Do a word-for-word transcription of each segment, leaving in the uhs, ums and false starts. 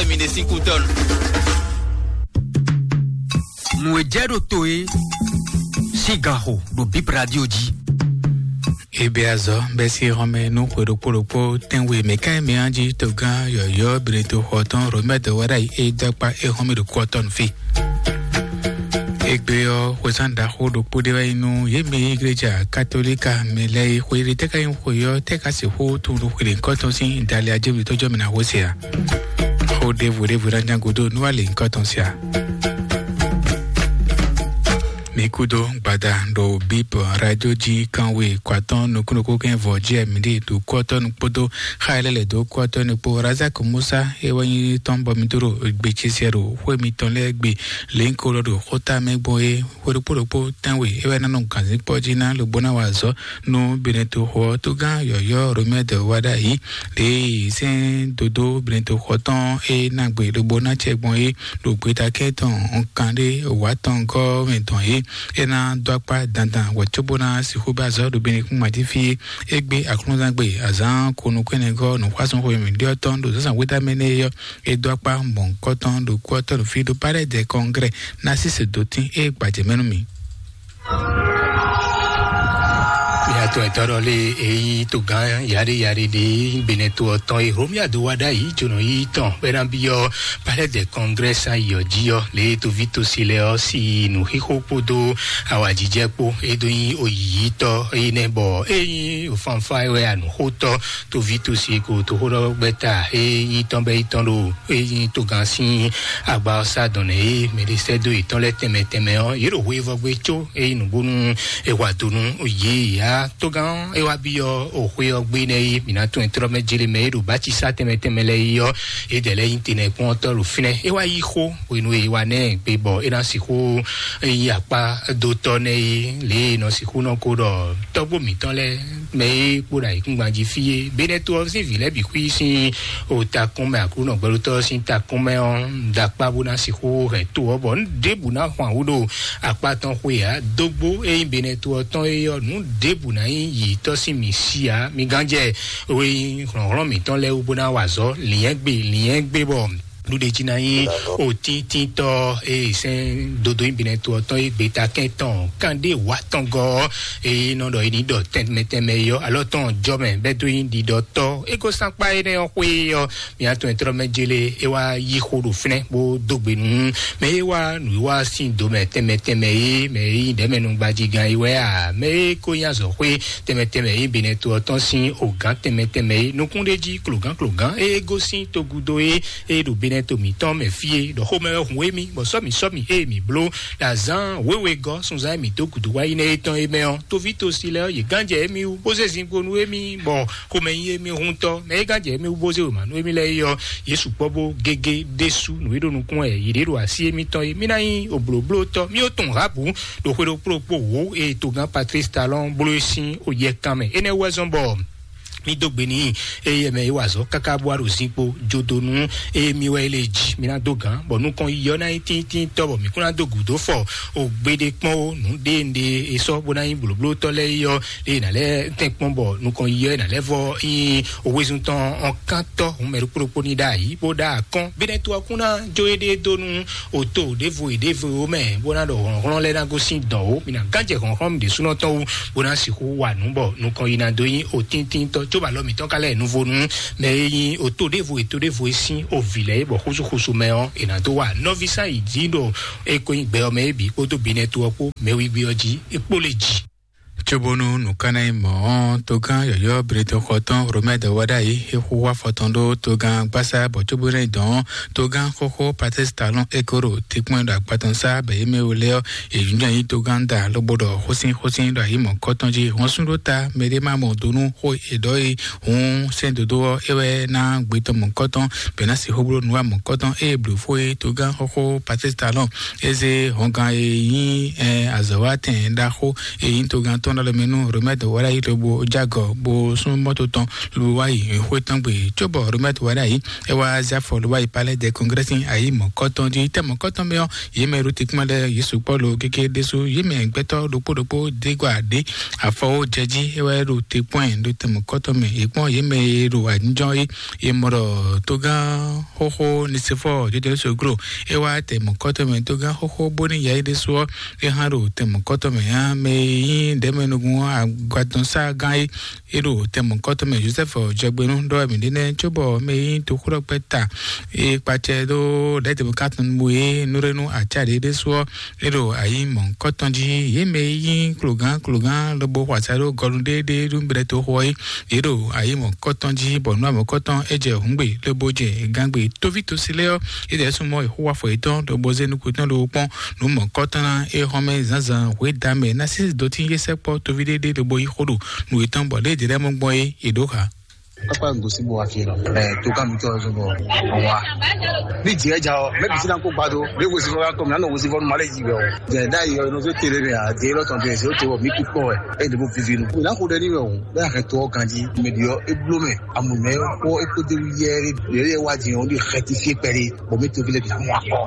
Mi ɖe sín kú tɔn. Nǔ e jɛ ɖo to e sín ganxo ɖo Bib Radio jí. Ebe azɔ bɛ si hɔnmɛ nú xwe ɖokpó ɖokpó tɛnwe mɛ ká mɛ anji togán yɔyɔ Benito xɔtɔn Romɛd Wadayi e dɔkpa e hɔnmɛ ɖo kɔtɔn fi. Egbe ɔ́, xwezán ɖaxó ɖokpó ɖé wɛ nyí nú yě mɛ igleja katolika mɛ lɛ́ɛ e xwe ɖé tɛ́ ká nyí xwe ɔ́ tɛ́ ká sixú tunwun ɖo xwe ɖě kɔtɔn sín dali ajémlutɔ́ jɔ mɛ ná xó se ǎ. Xó ɖěvo ɖěvo ná ján gúdo nú wá lě nyǐkɔ tɔn sia. Mi kúdó gbada ɖo Bíbɔ Radio jí kánwe kɔ atɔ́ɔ́n nukúnnukún kɛ́n vɔ jí ɛmǐ ɖe ɖo kú ɔ́ tɔ́ nu kpódó xá e lɛ́ lɛ̌ dó kú ɔ́ tɔ́ nu kpó. Razak Musa e wɛ nyí tɔn bɔ mi dó ɖo gbe ce siɛ ɖo xwé mitɔn lɛ́ɛ gbe lěnyíkó lɔ ɖo xóta mɛ gbɔn é. Xwé ɖokpó ɖokpó tɛ́nwe é wɛ ná nɔ gǎnzínkpɔ́ jí ná lobo ná wa azɔ̌ nú Benetoxo ɔ́. Tógán yɔ̌yɔ́ Romɛ́dɛ wá ɖ'ayǐ ɖě sɛ́n dodó Benetoxo tɔn e ná gbe lobo ná acɛ gbɔn é ɖo gbeta kɛ́tɔn kanɖé wǎ tɔn gɔ́ mɛ tɔn é. É ná dó akpá dandan wɛ cóbó ná sixú bɛ́ azɔ̌ ɖo Benekún mají fí é. É gbé aklúnɔzán gbe azǎn ko nukún ɛnɛ gɔ́ nǔxwásún xwe mǐɖyɔ́ tɔn ɖo zǎnzǎn wéta mɛ nɛ́ é ɔ́, é dó akpá mɔ̌hunkɔtɔn ɖo kú ɔ́ tɔn ɖo fí ɖó Palais des Congrès ná sí se dó tín é gbajɛ mɛ nú mi. Miatɔn etɔ́ ɖɔ lé e nyí togán yaɖé yaɖé ɖé Benɛto ɔ́ tɔn e Hlomia dó wá ɖ'ayǐ jónɔ yí tɔn bɔ é ná byɔ́ Palais des Congrès sín ayǐ ɔ́ jí ɔ́, lě e toví tosi lɛ́ɛ ɔ́ sí nǔxixo kpódó awǎjijɛ kpó e dó nyí oyǐyítɔ́ énɛ́ bɔ é nyí fanfá wɛ anǔxótɔ́ toví tosi e ko toxóɖɔgbɛ́ta e nyí tɔn bɛ́ yi tɔn ɖo e nyí togán sín agba ɔ́ sá dɔn nɛ e mɛ ɖé sɛ́ dó yětɔn lɛ́ɛ tɛnmɛ tɛnmɛ ɔ́, yě ɖo hweyivɔ́ gbé có é nyí nǔgbónú è wa do nú yě ǎ. Togán ɔ́ é wá byɔ́ o xwé ɔ́ gbé nɛ́ é mǐ ná tunwun tlɔ́ mɛ jlé mɛ é ɖo bácisá tɛnmɛ tɛnmɛ lɛ́ɛ yi ɔ́, é dɛ̌ lɛ́ nyí tenɛkpɔ́ntɔ́ ɖo fínɛ́. É wá yí xó hwenu e è wa nɛ́ gbe bɔ é ná sixú nyí akpá dó tɔ́ nɛ́ é, lě e è nɔ sixú nɔ ko ɖɔ tɔ́gbó mǐtɔn lɛ́ɛ mɛ e kpo ɖo ayǐkúngban jí fí é. Benɛto ɔ́ sín vǐ lɛ́ɛ bǐ xwí sín o takún mɛ, Aklúnɔ gbɛɖótɔ́ ɔ́ sín takún mɛ ɔ́, un da akpá bó ná sixú hɛn to ɔ́, bɔ un ɖěbǔ ná xwan wú ɖo akpá tɔn xwe ǎ. Dógbó e nyí Benɛto ɔ́ tɔn é ɔ́, nǔ ɖěbǔ ná nyí yǐtɔ́ sín mǐ sí ǎ. Mi gán jɛ we nyí hlɔ̌nhlɔ́n mǐtɔn lɛ́ɛ wú bó ná wa azɔ̌ lǐnyɛ́gbe lǐnyɛ́gbe bɔ ɖuɖe jí ná nyí òtíntítɔ́ e sɛ́n dodó nyi binɛ to ɔ́ tɔn e gbeta kɛn tɔn kanɖé wǎ tɔn gɔ́ ɔ́, e nɔ ɖɔ e ní ɖɔ tɛnmɛ tɛnmɛ e ɔ́, alɔ tɔn jɔ mɛ bɛ́ dó nyi ɖiɖɔtɔ́. E ko sán kpá énɛ́ ɔ́ xwé ɔ́, mǐ atɔn e tlɔ́ mɛ jélé é wá yí xó ɖo fínɛ́ bó dó gbe nú mɛ e wá nǔwiwa sín do mɛ tɛnmɛ tɛnmɛ e mɛ e nyí ɖɛ̌mɛnu gbajigán e wɛ a mɛ e ko nyí azɔ̌xwé tɛnmɛ tɛnmɛ e binɛ to ɔ́ tɔn sín ogǎn tɛnmɛ tɛnmɛ e nukún ɖé jí klogán klogán e gosín togudo e e ɖo benɛto mǐtɔn mɛ fí e ɖɔ xomɛ wɛ hun émí bɔ sɔ́ mǐ sɔ́ mǐ ée mǐ bló ɖo azǎn wěwe gɔ́ sunzán e mǐ dó gǔdo wá yi nɛ́ é tɔn é mɛ ɔ́, toví tosi lɛ́ɛ ɔ́, yě gán jɛ émí wú bó zé zinkpo nú émí bɔ xomɛ nyí émí huntɔ mɛ é gán jɛ émí wú bó zé wěma nú émí lɛ́ɛ é ɔ́, yě sukpɔ́ bó gégé ɖésú nǔ e ɖo nukún wɛ yě ɖe ɖo así émítɔn é. Mí ná nyí oblǒblótɔ́, mí ó tunwun Rahabu ɖo xwe ɖokpó ɖokpó wǒ e togán Patrice Talon bló é sín oyɛkan mɛ. Énɛ́ wú wɛ zɔ́n bɔ mí dó gbe n'i, eye mɛ yi wa azɔ̌ káká bó wá ɖo zinkpo jodonu, eye mi wɛ yi le jí mi ná dó gǎn, bɔ nukɔn yi ɔ́ ná nyí tíntíntɔ́, bɔ mǐ kún ná dó gǔdo fɔ o gbeɖé kpɔ́n ó. Nǔ ɖé nɖé e sɔ́ bó ná nyí blǒblótɔ́ lɛ́ɛ yi ɔ́, lě e nǎ lɛ́ tɛ́n kpɔ́n bɔ nukɔn yi ɔ́ ná lɛ́ vɔ nyí owézun tɔn ɔ́ kántɔ́ hun mɛ ɖokpó ɖokpó ní ɖ'ayǐ bó ɖa akɔ́n. Bínɛ́ to ɔ́ kún ná jó éɖée dó nú òto ɖěvo e ɖěvo mɛ bó ná ɖɔ hlɔ̌nhlɔ́n lɛ́ɛ ná gosín dɔ̌n ó. Mi ná gán jɛ hlɔ̌nhlɔ́n mi ɖésúnɔ tɔn wú bó ná sixú wa nǔ bɔ nukɔn yi ná dó nyí otíntínntɔ́, cóbɔ alɔ mǐtɔn ka lɛ́ nuvonu mɛ e nyí oto ɖěvo e to ɖěvo e sín ovǐ lɛ́ɛ é bɔ xúsúxúsú mɛ ɔ́, è nǎ dó wa nɔví sán yi jí ɖo é ko nyí gbɛ ɔ́ mɛ é bǐ kpódó binɛ to ɔ́ kpó mɛwígbí ɔ́ jí é kpó lě jí. Cóbónú nǔ ká ná nyí mɔ̌ ɔ́, togán yɔ̌yɔ́ Bretɔn xɔ tɔn Romɛ́ dɔ wá ɖ'ayǐ é xú wá fɔ tɔn ɖó togán gbásá bɔ cóbónú é dɔn ɔ́, togán xóxó Patrice Talon é kó ɖo tikpɔ́n ɖo akpa tɔn sá bɔ yě mɛ wo lɛ́ɛ ɔ́, yě nyúnyɔ nyí togán da lobo ɖɔ xósín xósín ɖo ayǐ mɔ̌kɔ́tɔn jí. Hɔn sú ɖó ta mɛɖé má mɔ do nú xó è ɖɔ é. Hǔn sɛ́n dodó ɔ́, é wɛ ná gbetɔ́ mɔ̌kɔ́tɔn bɔ é ná sixú bló nǔ wa mɔ̌kɔ́tɔn ée blǒ fó é togán xóxó Patrice Talon é zé hɔngán e nyí azɔ̌watɛn ɖaxó e nyí togán tɔn ɖɔ lɛ mɛ nú Romɛt Walayi lobo jagɔ bo sún mɔto tɔn lobo wá yi xwé tɔn gbe. Cóbɔ Romɛt Walayi é wá zé afɔ lobo wá yi Palais des Congrès sín ayi mɔ̌kɔtɔn jí. Tɛ mɔ̌kɔtɔn mɛ ɔ́, yě mɛ ɖo te kpɔ́n lɛ yě sukpɔ́ lo kéké ɖésú. Yě mɛ gbɛtɔ́ ɖokpó ɖokpó dé gba ɖé afɔ wó jɛ jí é wá ɖo te kpɔ́n ɛ ɖo tɛ mɔ̌kɔtɔn mɛ. Yě kpɔ́n yě mɛ e ɖo anyijɔ é, yě mɔ ɖɔ togán xóxó Nisifɔ jɛjɛrɛ soglo é wá tɛ mɔ̌kɔtɔn mɛ. Togán xóxó bóní yɛ é ɖésú ɔ́, é hã ɖo tɛ mɔ̌kɔtɔn mɛ hã mɛ e nyí ɖɛ̌mɛnúgún agbatɔ́nsá gán é é ɖo tɛmɔ̌kɔtɔn mɛ Joseph Jɔgbenu ɖɔ mǐ ɖe nɛ́ cóbɔ mɛ e nyí toxóɖɔkpɛ́ ta e kpacɛ ɖó lɛ̌dɛ̌mɔkatɔn bu e nú ɖé nú acá ɖě ɖésú ɔ́, é ɖo ayi mɔ̌kɔtɔn jí. Yě mɛ e nyí klogán klogán lobo xɔ asá ɖó gɔnu ɖéeɖée ɖó bɛ́ toxo ɔ́ é, yě ɖo ayi mɔ̌kɔtɔn jí, bɔ nú amɔ̌kɔtɔn é jɛ hǔngbe lobo jɛ gángbe. Tóví tosi lɛ́ɛ ɔ́, é ɖɛ̌ súnmọ́ Yehowa fɔ yětɔn lobo zé nukún tɔn lobo kpɔ́n nǔ mɔ̌kɔtɔn ná é xɔ́mɛ zǎnzǎn hwedǎmɛ ná sísí dó tín yé sɛkpɔ́ tóví ɖé ɖé lobo yí xó ɖo nǔ yětɔn bɔ lě e è ɖe lɛ́ɛ mɔ gbɔn é è ɖǒ xa. Pápá nǔgbó sín bó wá fí lɔ. Ɛ tó ká mi tɔn zɔn bɔ ɔn wá. Ní jì ɛ ja ɔ, mɛ bisi na kó gba do. Mɛ wo si fɔ ka kɔ mi na nɔ wo si fɔ nu ma lɛ yi bɛ o. Jɛ da yi ɔ, nɔ fɛ tele mɛ a, de lɔ tɔn de se o te wɔ mi kú kpɔ wɛ. E de bo vivi nu. Mi na ko dɛ ni mɛ o. Bɛ a kɛ to ɔ ganji. Mɛ bi ɔ e blo mɛ. Amu mɛ ko e ko de wi yɛ de yɛ wa di ɔ de xɛti fie pɛri. Bɔ mi to vi le bi na mɔ akɔ.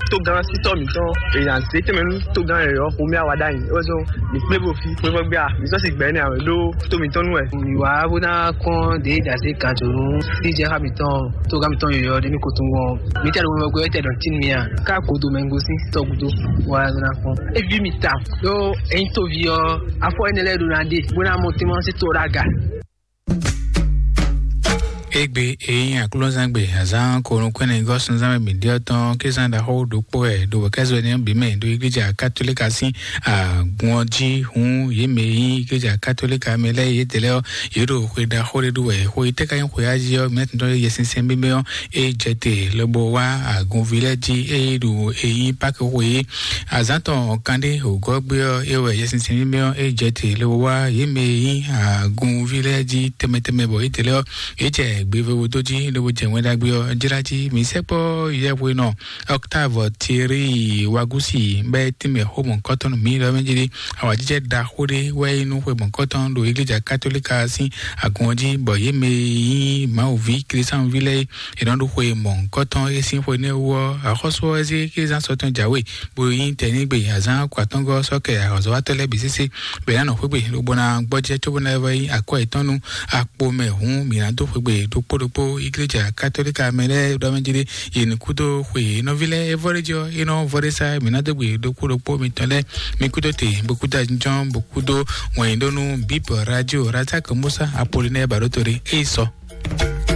Togán sítɔ mǐtɔn èèyàn zé tɛnmɛ nú togán yɔyɔ xomí awa ɖ'ayǐ é wɛ zɔn mǐ kplé bo fi xwéfɔ́ gbé a mǐ sɔ́ si gbɛ̌ nɛ awɛ ɖó tó mǐtɔn nú wɛ. Mǐ wá bó ná kɔn ɖě dasé kan tó nú sí jɛ xá mǐtɔn togán mǐtɔn yɔyɔ ɖé ní kotungɔn mǐtɛn ɖo wɛnwɛ gbé tɛ ɖɔ tí nú mì a ká godo mɛ gosín sítɔ gúdo wá zɔn ná kɔn. Éví mi ta ɖó ẹ̀yin tóvi ɔ́ afɔ énɛ́ lɛ́ɛ ɖo ná ɖe bó ná mɔ tɛ́nmɔ sí tó ɖó aga. Egbe eyin aklúnzangbe azán konukúnɛ gɔ́súnzánmɛ mǐɖíɔ́ tɔn kézán ɖaxó ɖokpó wɛ ɖo wɛ̌kɛ́zɔ́ énɛ́ bǐ mɛ ɖo igleja katolíka sín agun ɔ́ jí hǔn yě mɛ e nyí igleja katolíka mɛ lɛ́ɛ yědɛɛ lɛ́ɛ ɔ́, yě ɖo xwe ɖaxó ɖé ɖu wɛ. Xwe yi tɛ́ ka nyí xwe ají ɔ́, mɛ tɔn ɖɔ Yɛsinsɛn mímɛ́ ɔ́, é jɛ te lobo wá agunví lɛ́ɛ jí, ée ɖo e nyí Páki xwe é. Azǎn tɔn kanɖé wǒgɔ́ gbé ɔ́, é wɛ Yɛsinsɛn mímɛ́ ɔ́ é jɛ te lobo wá yě mɛ e nyí agunví lɛ́ɛ jí tɛnmɛ tɛnmɛ, bɔ yědɛɛ lɛ́ɛ ɔ́, yě jɛ gbevewo dó jí lobo jɛ Wɛn Ɖagbe ɔ́ jlá jí. Mǐ sɛkpɔ́ yɛhwenɔ Octave Thierry Wagusi bɔ é tínmɛ xó mɔ̌kɔtɔn nú mǐ ɖɔ mɛ jí ɖé. Awǎjijɛ ɖaxó ɖé wɛ é nyí nú xwe mɔ̌kɔtɔn ɖo igleja katolíka sín agun ɔ́ jí, bɔ yě mɛ e nyí Mawu ví Klísánuví lɛ́ɛ é nɔ ɖo xwe mɔ̌kɔtɔn é sín xwe nɛ́ wú ɔ́, axɔ́sú ɔ́ zé kézán sɔtɔn jǎwe, bó nyí tɛnígbe azán kɔ atɔ́ngɔ́ sɔ́kɛ ahɔ̌nzɔ́watɔ́ lɛ́ɛ bǐ sésé, bɔ è nǎ nɔ xwé gbe lobo ná gbɔjɛ́ cóbó ná vɔ nyí akwɛ́ yětɔn nú akpo mɛ hǔn mǐ ná dó xwegbe ɖokpó ɖokpó igleja katolíka mɛ lɛ́ɛ ɖɔ mɛ jí ɖé. Yě ní kúdó xwe nɔví lɛ́ɛ é vɔ ɖé jí ɔ́, é nɔ vɔ ɖé sá mǐ ná dó gbe ɖokpó ɖokpó mitɔn lɛ́ɛ. Mi kúdó te, bó kúdó ajínjɔ́n, bó kúdó wɛ̀nyíɖónú bíbɔ radio razak musa apolinɛ baɖótó ɖé é yi sɔ.